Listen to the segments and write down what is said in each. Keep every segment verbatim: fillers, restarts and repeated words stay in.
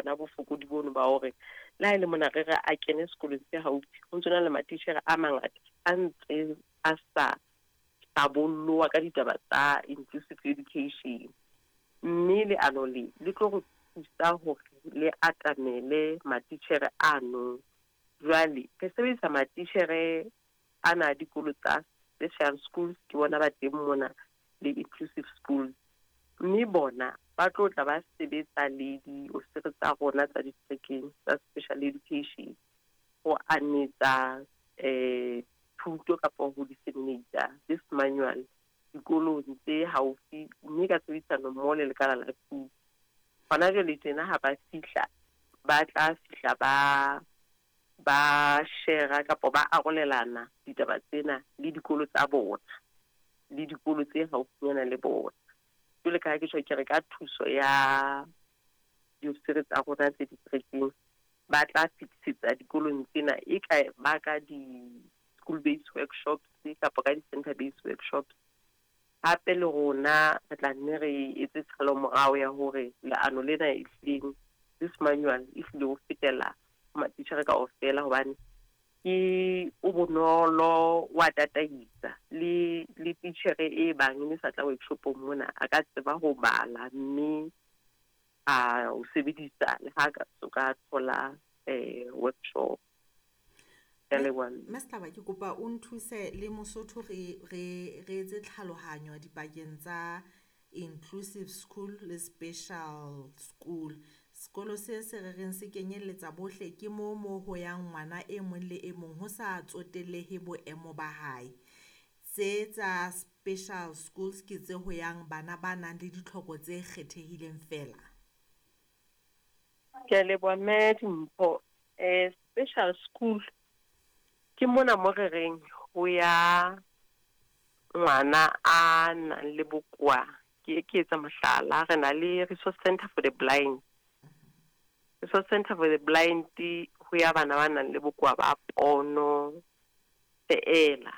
bona bofokodi bono ba hore le ha e le mona re re a kene sekolong se haufi, ho ntso na le matitjhere a mangata a ntse a sa hlabolloha ka ditaba tsa inclusive education. Mme leano le le tlo re thusa hore le atamele matitjhere ano. Jwale re sebedisa matitjhere ana a dikolo tsa special schools, ke bona ba teng mona le inclusive schools, mme bona ba tlo tla ba sebetsa le diofisiri tsa rona tsa diterekeng tsa special education ho anetsa eh thuto kapa ho disseminate this manual dikolong tse haufi, mme ka tshebedisano mmoho le lekala la thuto. Hona jwale tjena ha ba fihla, ba tla fihla ba ba share kapa ba arolelana ditaba tsena le dikolo tsa bona le dikolo tse haufinyana le bona. Jwale ka ha ke tjho ke re ka thuso ya diofisiri tsa rona tse diterekeng, ba tla fetisetsa dikolong tsena e ka ba ka di-school-based workshops kapa ka di-center-based workshops. Hape le rona re tla nne re etse tshalo morao ya hore leano lena ehlileng, this manual e hlile ho fetela ho matitjhere kaofela, hobane ke o bonolo, wa tataisa le le titjhere e bang e sa tla workshopong mona a ka tseba ho bala mme a o sebedisa le ha ka so ka thola eh workshop. Ke a leboha, mme. Mme Setlaba, ke kopa o nthuse le Mosotho re re re etse tlhalohanyo dipakeng tsa inclusive school le special school. Sekolo se se re reng se kenyelletsa bohle ke mo mo ho yang ngwana e mong le e mong ho sa tsotellehe boemo ba hae. Tse tsa special schools ke tse ho yang bana ba nang le ditlhoko tse kgethehileng fela. Ke a leboha, mme Dimpho. Eh special school ke mona mo re reng ho ya ngwana a nang le bokowa. Ke ke etsa mohlala, re na le Resource Center for the Blind. Resource Center for the Blind ho ya bana ba nang le bokowa ba pono feela.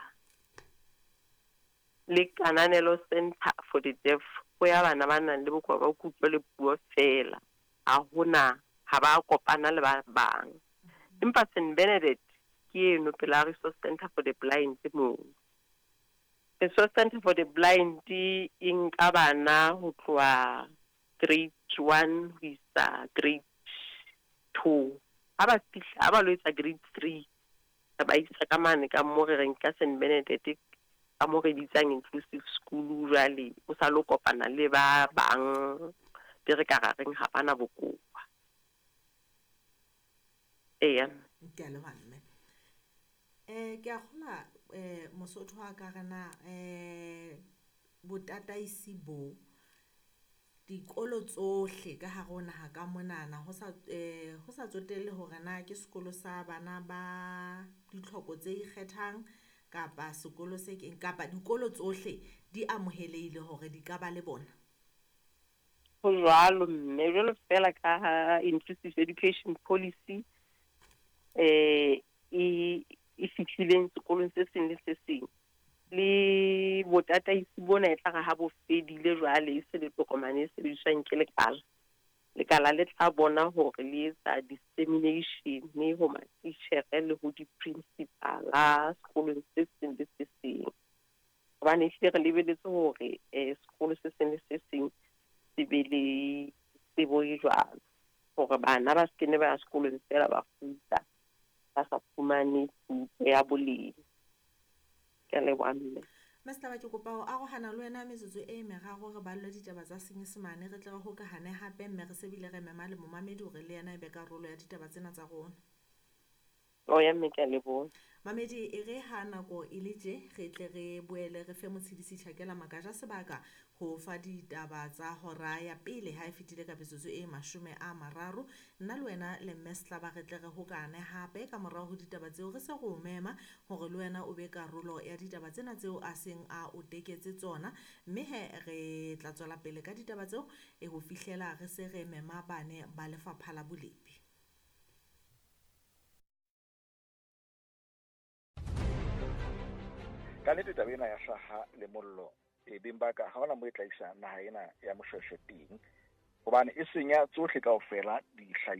Le Kananelo Center for the Deaf ho ya bana ba nang le bokowa ba kutlo le puo feela. Ha hona ha ba kopana le ba bang. Empa Saint Benedict ke eno pela Resource Center for the Blind moo. Resource Center for the Blind e nka bana ho tloha grade one ho isa grade two. Ha ba fihla, ha ba lo etsa grade three, re ba isa ka mane ka mo re reng ka Saint Benedict, ka mo re bitsang inclusive school. Jwale o sa lo kopana le ba bang be re ka ra reng ha bana bokowa. Eya. Ke a leboha, mme. Eh ke a kgolwa eh Mosotho wa ka re na eh botataisi bo dikolo tsohle ka hare ho naha ka monana, ho sa eh ho sa tsotelle hore na ke sekolo sa bana ba ditlhoko tse ikgethang kapa sekolo se keng, kapa dikolo tsohle di amohelehile hore di ka ba le bona. Ho jwalo, mme, jwalo fela ka ha inclusive education policy eh e e fihlileng sekolong se seng le se seng, le botataisi bona e tla re ha bo fedile jwale e se le tokomane e sebediswang ke lekala. Lekala le tla bona hore le etsa dissemination ho matitjhere le ho di-principal-a sekolong se seng le se seng. Hobane ehlile re lebeletse hore eh sekolo se seng le se seng se be le tsebo e jwalo, hore bana ba se kene ba ya sekolong feela ba kgutla ba sa fumane thuto ya boleng. Ke a leboha, mme. Mme Setlaba, ke kopa ho arohana le wena metsotso e meraro re ballwe ditaba tsa Senyesemane, re tle re hokahane hape, mme re se bile re mema le momamedi hore le yena e be karolo ya ditaba tsena tsa rona. O ya, mme, ke a leboha. Mamedi, e re ha nako e le tje re tle re boele re fe Motshidisi Tjhakela Makaja sebaka ho fa ditaba tsa hora ya pele ha e fetile ka metsotso e mashome a mararo. Nna le wena le mme Setlaba re tle re hokahane hape ka morao ho ditaba tseo, re se re o mema hore le wena o be karolo ya ditaba tsena tseo a seng a o teketse tsona, mme he re tla tswela pele ka ditaba tseo e ho fihlela re se re mema bane ba lefapha la bolepi. Ka nnete taba ena ya hlaha le mollo e beng ba ka ha hona mo e tla isa naha ena ya Moshoeshoe teng. Hobane e senya tsohle kaofela, dihlahiswa.